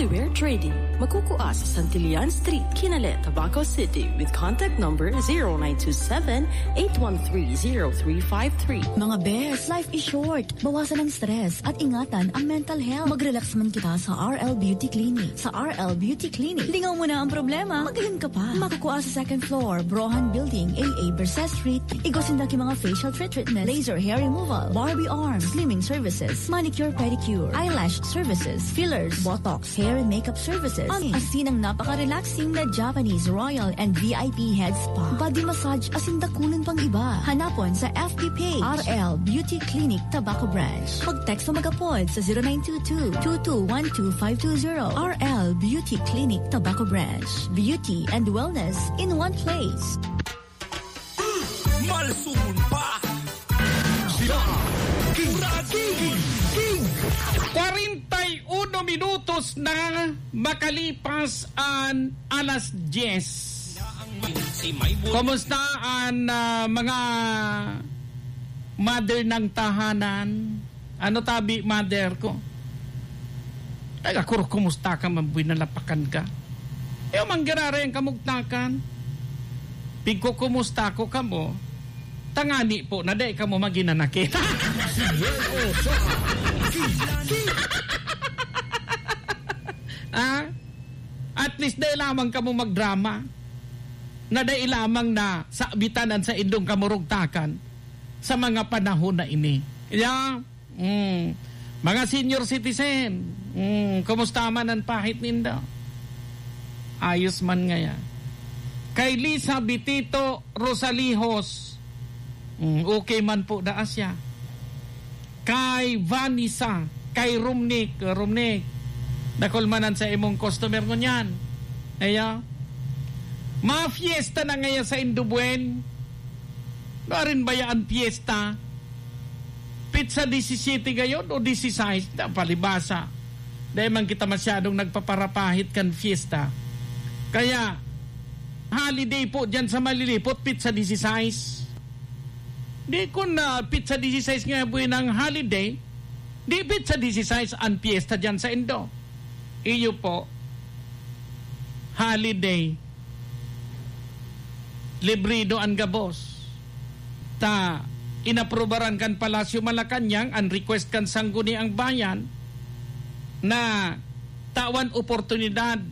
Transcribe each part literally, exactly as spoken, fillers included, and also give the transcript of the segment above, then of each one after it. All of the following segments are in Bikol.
We're trading. Magkukua sa Santillan Street, Kinale, Tabaco City, with contact number zero nine two seven, eight one three, zero three five three. Mga bes, life is short. Bawasan ang stress at ingatan ang mental health. Mag-relax man kita sa R L Beauty Clinic. Sa R L Beauty Clinic, lingaw mo na ang problema, magayon ka pa. Makukua sa second floor, Brohan Building, A A Bercé Street. Igwa sinda ki mga facial treatment, laser hair removal, Barbie arms, slimming services, manicure, pedicure, eyelash services, fillers, botox, hair and makeup services, asin ang napaka-relaxing na Japanese Royal and V I P Head Spa, body massage asin dakulon pang iba. Hanapon sa F B page, R L Beauty Clinic Tabaco Branch. Mag-text o mag-apod sa zero nine two two, two two one two five two zero. R L Beauty Clinic Tabaco Branch. Beauty and wellness in one place. Malsumon pa. Sila King, King, King. Kwarenta y uno minutos na makalipas an alas dyes. Kumusta an, ah, mga mother ng tahanan? Ano tabi, mother ko? Ay, ako, kumusta ka man, buhay nalapakan ka? Eh, manggiraray ang kamugtakan. Pigkukumusta ko kamo, tangani po na dai kamo maginanakit. Ah? At least dai lamang kamo magdrama. Na dai lamang na sabitan an saindong kamurugtakan sa mga panahon na ini. Yeah? Mm. Mga senior citizen, mm, kumusta man an pahit nindo? Ayos man ngaya. Kay Lisa Bitito Rosalihos, mm, okay man po daa siya. Kay Vanessa, kay Rumnik, Rumnik, dakul man an sa imong customer ngunyan. Aya. Mga fiesta na ngaya saindo, buen. Nuarin baya an fiesta? Pitsa disisiyete gayon o disisais? Na, palibasa. Dai man kita masyadong nagpaparapahit kan fiesta. Kaya, holiday po diyan sa Malilipot, pitsa disisais. Di kun na pitsa disisais nga buhay ng holiday, di pitsa disisais an fiesta diyan saindo. Iyo po, holiday. Librido an gabos. Ta, inaprubaran kan Palasyo Malacañang an request kan Sangguniang Bayan na tawan oportunidad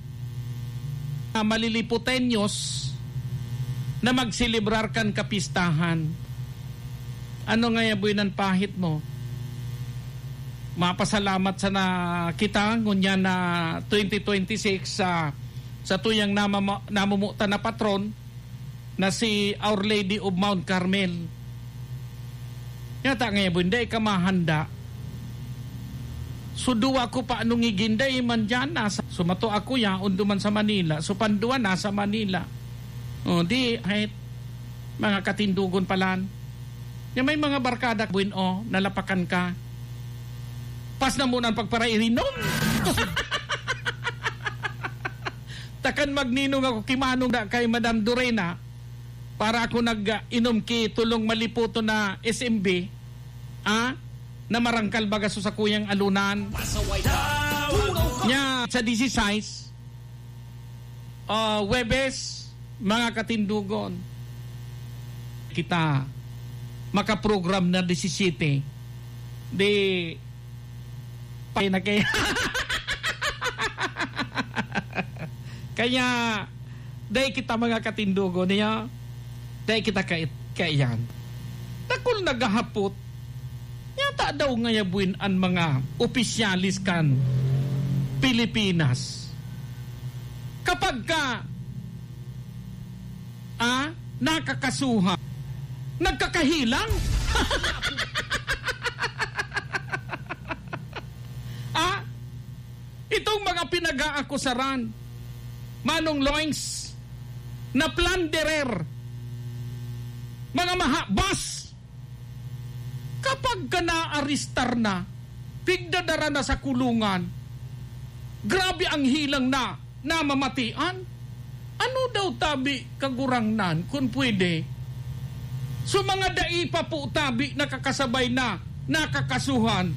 na Maliliputeños na magselebrar kan kapistahan. Ano ngaya buhay nan pahit mo? Mapasalamat sana kita ngunyan na twenty twenty-six sa, sa tuyang namama-, namumutan na patron na si Our Lady of Mount Carmel. Yata ngaya buhay, dai ka mahanda. So, duwa ko pa anong iginday man dyan, nasa, so, mato ako yaon duman sa Manila. So, pandua nasa Manila. O, di, hay, mga katindugon palan. Nga may mga barkada, buin, o, nalapakan ka. Pas na muna ang pagparairinom. Takan magninong ako, kimanong da kay Madam Dorena, para ako nag-inom ki tulong maliputo na S M B, ah, na marangkal baga sa sakuyang alunan. Nya, sa disisais, ah, Huwebes, mga katindugon, kita makaprogram na disisiyete. Di, pa na kay-, kaya, dai kita mga katindugon niya, dai kita kait-, kaiyan. Dakul naghahapot, yata daw ngaya buin an mga opisyalis kan Pilipinas. Kapag ka, ah, nakakasuhan, nagkakahilang? Ah, itong mga pinag-aakusaran, Manong Loings, na plunderer, mga mahabas, kapag ka naaristar na, pigdadara na sa kulungan, grabe ang hilang na namamatian. Ano daw tabi, Kagurangnan, kun pwede? So, mga dai pa po tabi nakakasabay na nakakasuhan,